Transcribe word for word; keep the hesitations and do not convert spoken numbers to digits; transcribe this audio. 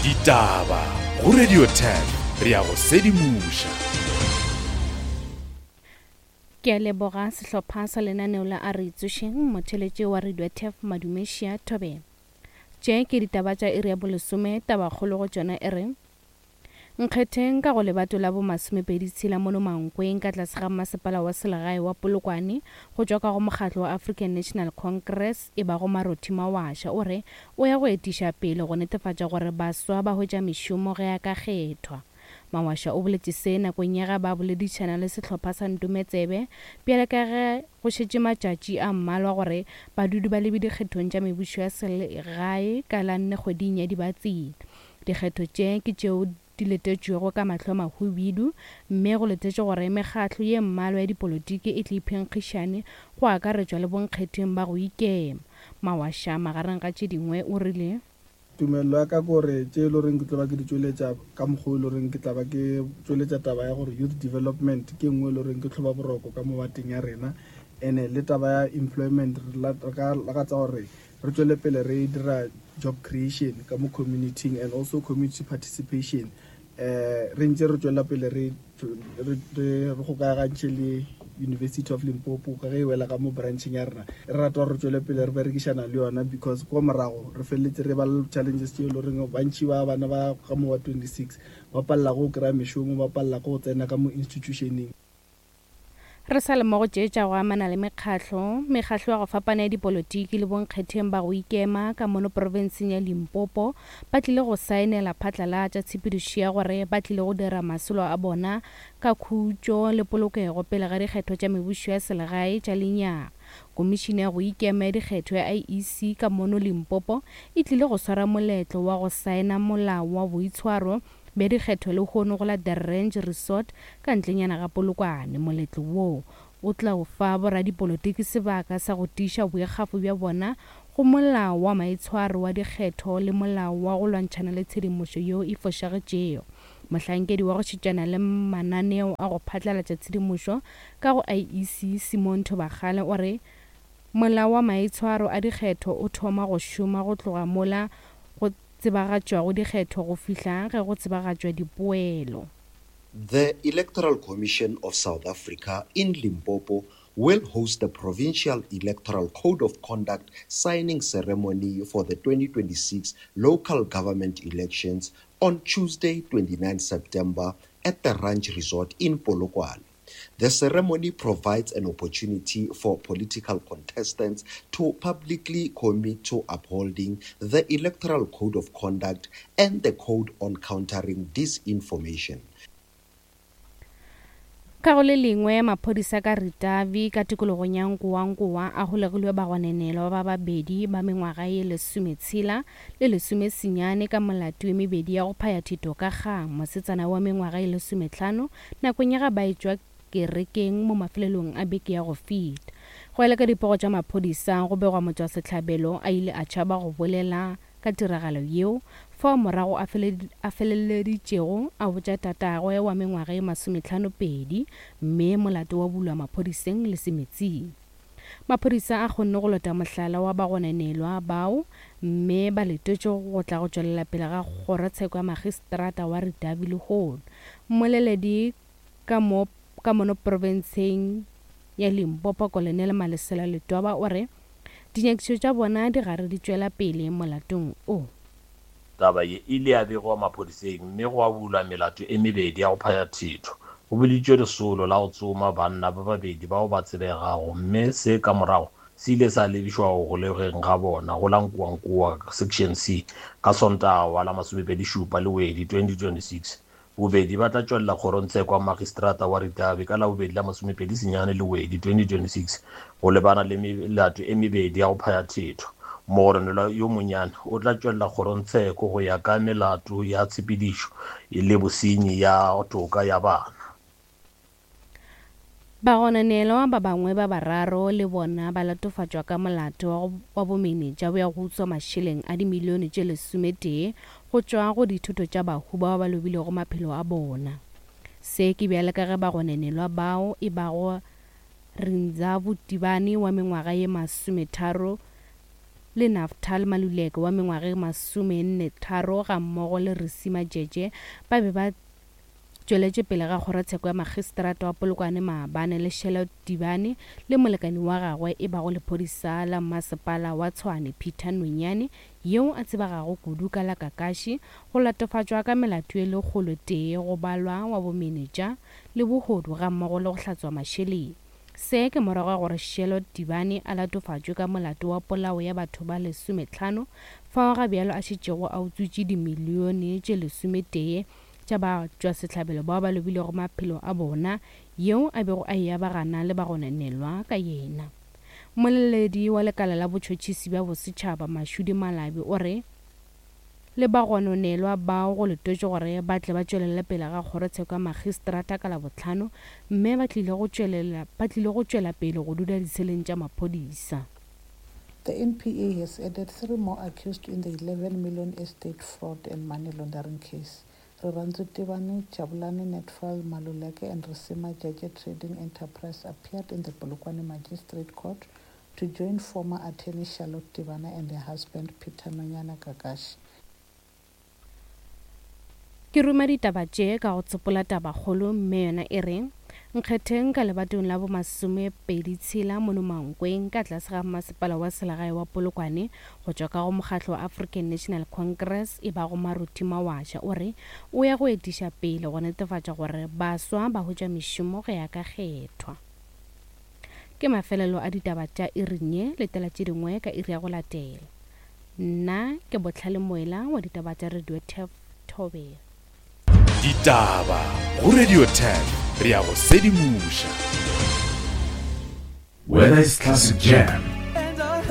Ditaba go Radio ten re ya go sedimoša. Ke a leboga sehlopha sa lenaneo la A Re Itsošeng, motheletše wa Radio T E F Madumešia Thobela. Tše ke ditaba tša iri ya bolesome, tabakgolo go tšona e re Nkgetheng ka go lebato la bomasomepedi tshela mono Mankweng ka tlase ga masepala wa selegae wa Polokwane go tšwa ka go mokgatlo wa African National Congress e bago Marothi Mawasha o re o ya go etiša pele go netefatša gore baswa ba hwetša mešomo ge a ka kgethwa. Mawasha o boletše se nakong ya ge ba boledišana le sehlopha sa Ntometsebe bjale ka ge go šetše matšatši a mmalwa gore badudi ba lebe dikgethong tša mebušo ya selegae ka la nne kgweding ya Dibatsela. Dikgetho tše ke tšeo di letetšwego ka mahlo a mahubidu mme go letetšwe gore mekgatlo ye mmalwa ya dipolotiki e tle iphenkgišane go akaretšwa le bonkgetheng ba go ikema. Mawasha magareng ga tše dingwe o rile Tumelelo ya ka ke gore tše e le goreng ke tlo ba ke di tšweletša ka mokgwa o e le goreng ke tla ba ke tšweletša taba ya gore youth development ke nngwe e le goreng ke tlhoba boroko ka mo bateng ya rena, and-e le taba ya employment re ka lakatsa gore re tšwele pele re dira job creation ka mo community and also community participation. um re ntse re tswela pele re re gokagantšhe le University of Limpopo ka ge e wela ka mo brancheng ya rena. Re rata gore re tswele pele re berekišana le yona because ko morago re feleletse re ba le challenges tse e le goreng bantši ba bana ba ka mo wa twenty-six ba palela go kry-a mešomo, ba palela go tsena ka mo institutioneng. Re sa le mo go tše tša go amana le mekgatlo, mekgatlo ya go fapana ya dipolotiki le bonkgetheng ba go ikema ka mono profenseng ya Limpopo ba tlile go saenela phatlalatša tshepedišo ya gore ba tlile go dira masolo a bona ka khutšo le polokego pele ga dikgetho tša mebušo ya selegae tša lenyaga. Komišene ya go ikema ya dikgetho ya I E C ka mono Limpopo e tlile go swara moletlo wa go saena molao wa boitshwaro bja dikgetho lehono go la The Ranch Resort ka ntlenyana ga Polokwane. Moletlo woo o tla o fa boradipolotiki sebaka sa go tiiša boikgafo bja bona go molao wa maitshwaro wa dikgetho le molao wa go lwantšhana le tshedimošo yeo e fošagetšego. Mohlankedi wa go šetšana le mananeo a go phatlalatša tshedimošo ka go I E C Simon Thobakgale o re molao wa maitshwaro a dikgetho o thoma go šoma go tloga mola go tsebagatšwago dikgetho go fihla ge go tsebagatšwa dipoelo. The Electoral Commission of South Africa in Limpopo will host the Provincial Electoral Code of Conduct signing ceremony for the twenty twenty-six local government elections on Tuesday, twenty-nine September at the Ranch Resort in Polokwane. The ceremony provides an opportunity for political contestants to publicly commit to upholding the Electoral Code of Conduct and the Code on Countering Disinformation. Ka go le lengwe, maphodisa ka Ritavi ka tikologong ya Nkowankowa a holegilwe bagononelwa ba babedi ba mengwaga ye lesometshela le lesomesenyane ka molato ye mebedi ya go phaya thito ka kgang mosetsana wa mengwaga ye lesometlhano nakong ya ga ba etšwa kerekeng mo mafelelong a beke ya go feta. Go ela ka dipego tša maphodisa, go begwa motšwasehlabelo a ile a tšhaba go bolela ka tiragalo yeo fao morago a feleleditšego a botša tatagwe wa mengwaga ye masometlhano-pedi mme molato wa bulwa maphodiseng le semetsing. Maphodisa a kgonne go lota mohlala wa bagononelwa bao mme ba letetše go tla go tšwelela pele ga kgorotsheko ya magistrata wa Ritavi lehono. Mmoleledi ka mo ka mono profenseng ya Limpopo Colonel Malesela Letwaba o re dinyakišišo tša bona di gare di tšwela pele molatong o. Taba ye e ile ya begwa maphodiseng mme gwa bulwa melato e mebedi ya go phaya thetho. Go biditšwe lesolo la go tsoma banna ba babedi bao ba tsebegago mme se ka morago se ile sa lebišwa go golegweng ga bona go la Nkowankowa Section C ka Sontaga wa la masomepedi šupa Lewedi twenty twenty-six. Bobedi ba tla tšwelela kgorongtsheko ya magistrata wa Ritavi ka Labobedi la masomepedi senyane Lewedi twenty twenty-six go lebana le melato e mebedi ya go phaya thetho. Mogononelwa yo monnyane o tla tšwelela kgorongtsheko go ya ka melato ya tshepedišo le bosenyi ya toka ya bana. Bagononelwa ba bangwe ba bararo le bona ba latofatšwa ka molato wa bomenetša bja go utswa mašeleng a dimilione tše lesometee go tšwa go dithoto tša bahu bao ba lobilego maphelo a bona. Se ke bjale ka ge bagononelwa bao e bago Rinzhavu Tibane wa mengwaga ye masometharo le Naftal Maluleke wa mengwaga e masomenne tharo gammogo le Risima Jeje ba be ba tšweletše pele ga kgorotsheko ya magistrata wa Polokwane maabane le Charlotte Tibane le molekani wa gagwe e bago lephodisa la mmasepala wa Tshwane Peter Nonyane yeo a tsebegago kudu ka la Kakashi go latofatšwa ka melato e lekgolo tee go balwa wa bomenetša le bohodu gammogo le go hlatswa mašeleng. Se ke morago ga gore Charlotte Tibane a latofatšwe ka molato wa polao ya batho ba lesometlhano fao ga bjalo a šetšego a utswitše dimilione tše lesometee tša batšwasehlabelo bao ba lobilego maphelo a bona yeo a bego a e abagana le bagononelwa ka yena. Mmoleledi wa lekala la botšhotšhisi bja bosetšhaba Mashudi Malabi o re le bagononelwa bao go letotše gore ba tle ba tšwelele pele ga kgorotsheko ya magistrata ka Labohlano mme ba tlile go tšwelela ba tlile go tšwela pele go dula ditsheleng tša maphodisa. The N P A has added three more accused in the eleven million estate fraud and money laundering case. Rirhandzu Tivani, Jabulani Netfall Maluleke and Risima Jeje Trading Enterprise appeared in the Polokwane Magistrate Court to join former attorney Charlotte Tivana and her husband Peter Nonyana Kakashi. Ke ruma ditaba tše ka go tsopola tabakgolo mme yona e re nkgetheng ka lebatong la bomasomepedi tshela mono Mankweng ka tlase ga masepala wa selegae wa Polokwane go tšwa ka go mokgatlo wa African National Congress e bago Maruti Mawasha o re o ya go etiša pele go netefatša gore baswa ba hwetša mešomo go ya ka kgethwa. Ke mafelelo a ditaba tša iring ye, letela tše dingwe ka iri ya go latela. Nna ke Botlhale Moela wa ditaba tša Radio Turf Thobela. Ditaba go Radio ten, re ya go sedimoša. Whether it's classic jam